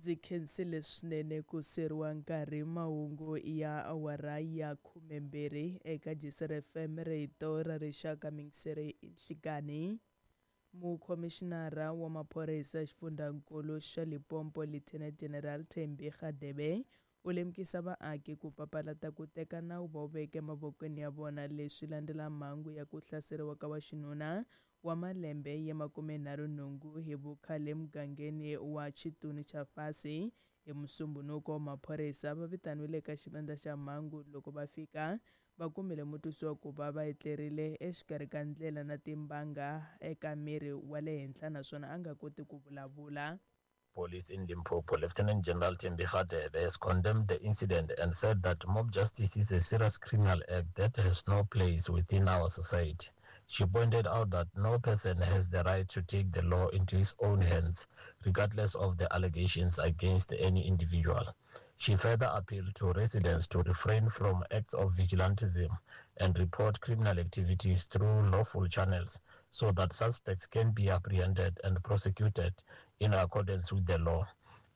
Ndzi khensile swinene ku seriwa nkarhi mahungu ya awara ya 12 eka Gisere FM rito ra rixaka mingiseri nhlikani. Mukhomixinara wa maphorisa xifundzankulu xa Limpopo Lieutenant General Thembi Radebe u lemukisa vaaki ku papalata ku teka nawu va wu veka emavokweni ya vona leswi landzela mhangu ya ku hlaseriwa ka waxinuna wa malembe ya 38 hi vukhale emugangeni wa Chituni cha Fasi hi Musumbhunuko. Maphorisa va vitaniwile eka xivandla xa mhangu loko va fika va kumile mutwisiwa ku va va etlerile exikarhi ka ndlela na timbanga eka miri wa le henhla naswona a nga koti ku vulavula. Police in Limpopo, Lieutenant General Thembi Radebe, has condemned the incident and said that mob justice is a serious criminal act that has no place within our society. She pointed out that no person has the right to take the law into his own hands, regardless of the allegations against any individual. She further appealed to residents to refrain from acts of vigilantism and report criminal activities through lawful channels so that suspects can be apprehended and prosecuted in accordance with the law.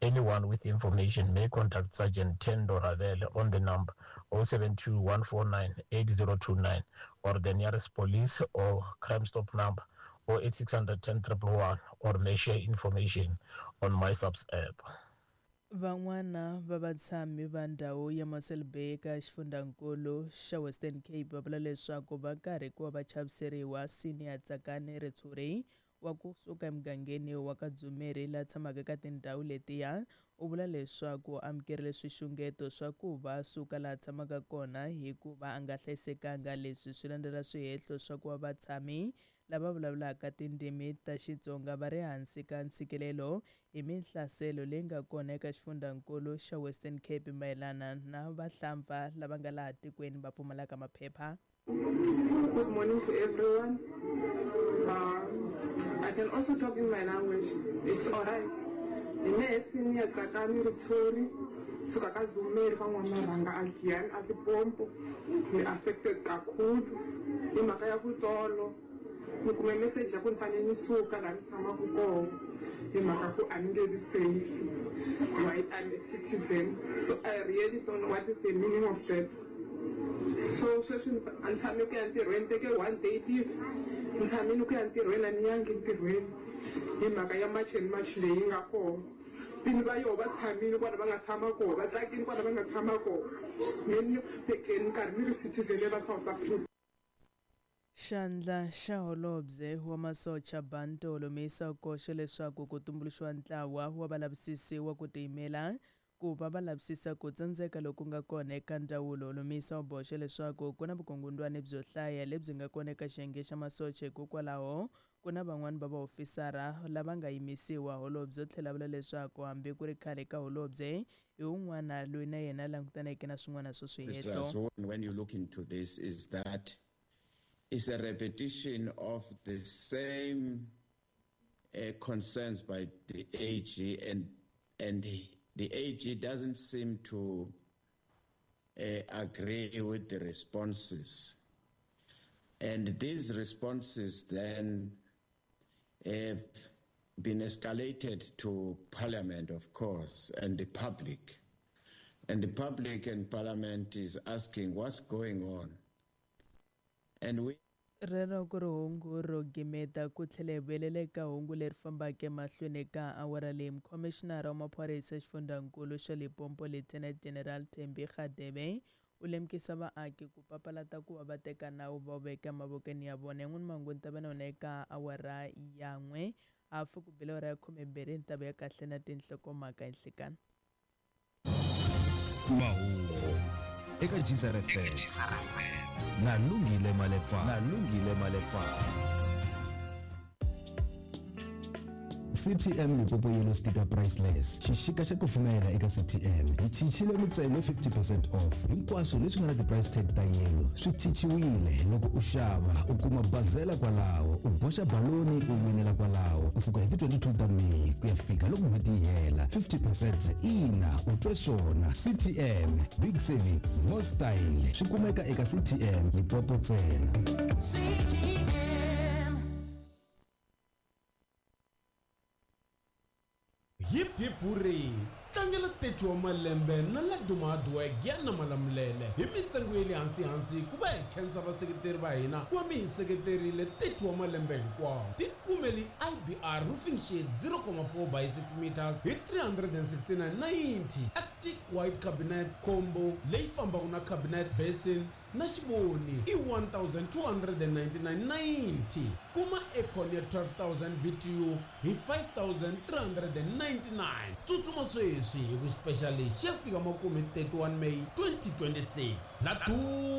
Anyone with information may contact Sergeant Tendo Ravel on the number 072 149 8029 or the nearest police or Crime Stop number 08600 10 111 or may share information on MySAPS app. Van'wana va vatshami va ndhawu ya Mossel Bay eka xifundzankulu xa Western Cape va vula leswaku va karhi ku va va chaviseriwa. Senior Tsakani Ritshuri wa kusuka emugangeni wa ka Dzumeri la tshamaka eka tindhawu letiya u vula leswaku amukerile swixungeto swa ku va suka laha tshamaka kona hikuva a nga hlayisekanga. Leswi swi landzela swihehlo swa ku va vatshami lava vulavulaka tindzimi ta Xitsonga va ri hansi ka ntshikelelo hi minhlaselo leyi nga kona eka xifundzankulu xa Western Cape mayelana na vahlampfa lava nga laha tikweni va pfumalaka maphepha. Good morning to everyone. I can also talk in my language. It's alright. Hi mehe Senior Tsakani Ritshuri suka ka Zumeri ka N'wamarhanga a Giyani a Limpopo. Ni affected kakhulu hi mhaka ya ku tolo ni kume message ya ku ni fanele ni suka laha ni tshamaka kona hi mhaka ku a ni nge vi safe while I'm a citizen. So I really don't know what is the meaning of that. So sweswi a ni tshame ku ya ntirhweni, teke one day leave, ni tshamile ku ya ntirhweni a ni yangi ntirhweni hi mhaka ya March and March leyi nga kona. Vini va yoho va tshamile kwala va nga tshama kona, va tsakile kwala va nga tshama kona. Me ni tekeni nkarhi ni ri citizen ya la South Africa. Xandla xa holobye wa masocha Bantu Holomisa u koxe leswaku ku tumbuluxiwa ntlawa wa valavisisi wa ku tiyimela ku va va lavisisa ku tsandzeka loku nga kona eka ndzawulo. Holomisa u boxe leswaku ku na vukungundwani byo hlaya lebyi nga kona eka xiyenge xa masocha, hikokwalaho ku na van'wani va vaofisara lava nga yimisiwa. Holobye u tlhela vula leswaku hambi ku ri khale ka holobye hi wun'wana loyi na yena a langutaneke na swin'wana swa swihehlo. So when you look into this is that it's a repetition of the same concerns by the AG, and the AG doesn't seem to agree with the responses. And these responses then have been escalated to Parliament, of course, and the public. And the public and Parliament is asking what's going on. And we Rero ku ri hungu ro gimeta ku tlhela hi vuyelela eka hungu leri fambaka emahlweni eka awara leyi. Mukhomixinara wa maphorisa xifundzankulu xa Limpopo Lieutenant General Thembi Radebe u lemukisa vaaki ku papalata ku va va teka nawu va wu veka emavokweni ya vona. Yan'wani mahungu ni ta va na wona eka awara ya 1 hafu ku bile awara ya 12 ni ta vuya kahle na tinhlokomhaka hi nhlikani. Mahungu eka Geyser FM na Lungile Malepa, na Lungile Malepa. CTM Limpopo Yellow Sticker Priceless xixika xa kufumela eka CTM hi chichile mintsengo 50% off hinkwaswo leswi nga na ti-price tag ta yellow swi chichiwile. Loko u xava u kuma bazela kwalaho, u boxa baloni u winela kwalaho kusuka hi ti-22 ta May ku ya fika loko n'hweti yi hela. 50% ina u twe swona. CTM big saving more style swi kumeka eka CTM Limpopo ntsena. CTM. Hip hip hooray! Tlangela 30 wa malembe na Laduma Hardwork ya na Malamulele hi mintsengo ya le hansi-hansi ku va hi khensa vaseketeri va hina ku va mi hi seketerile 30 wa malembe hinkwawo. Tikumeli IBR Roofing Sheet 0,4 by 6 meters hi 369.90, Arctic White Cabinet Combo leyi fambaka na cabinet basin na xivoni i 1299.90. Kuma aircon ya 12000 BTU hi 5399. Tsutsuma sweswi hi ku special lexi ya fika makumu hi 31 May 2026. Laduma.